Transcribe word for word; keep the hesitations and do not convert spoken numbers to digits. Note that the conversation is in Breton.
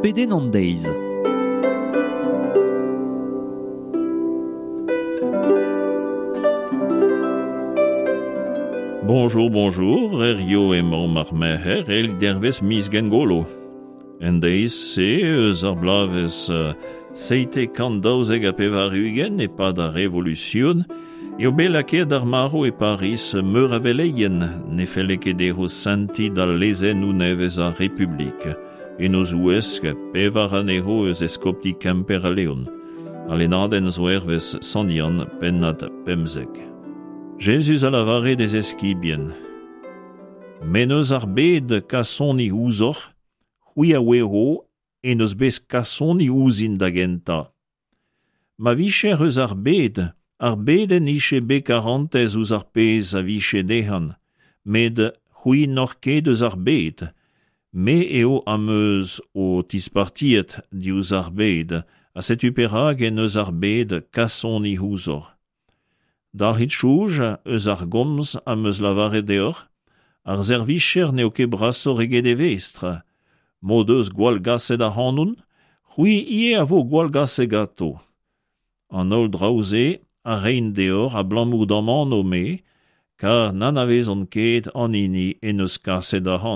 Pedenn an deiz. Bonjour, bonjour, Herrio emañ ar merc'her el dervez miz Gengolo. En deiz-se eus ar bloavezh seitek kant daouzek ha pevar-ugent e-pad ar Revolution eo bet lakaet ar marv e Pariz meur a veleien ne felle ket dezho sentiñ d'al lezennoù nevez ar Republik. En o zouesk pevar anezho eus eskopti Kemper ha Leon. Al lennadenn zo hervez Sant Yann pennad pemzek. Jezuz a lavare d'e zeskibien. M'en eus ar bed kasoni ouzhoc'h, c'hwi a ouezo en eus bet kasoni ouzhin da gentañ. Ma vijec'h eus ar bed, ar bed en dije bet karantez ouzh ar pezh a vije dezhañ, met c'hwi n'oc'h ket eus ar bed. Me eo am eus ho tispartiet diouzh ar bed, ha setu perak en eus ar bed kasoni ouzhoc'h. Dalc'hit soñj eus ar gomz am eus lavaret deoc'h, ar servijer n'eo ket brasoc'h eget e vestr. M'o deus gwallgaset ac'hanon, c'hwi ivez a vo gwallgaset ganto. An holl draoù-se a reint deoc'h abalamour d'am anv-me, kar n'anavezont ket an hini en deus kaset ac'hanon.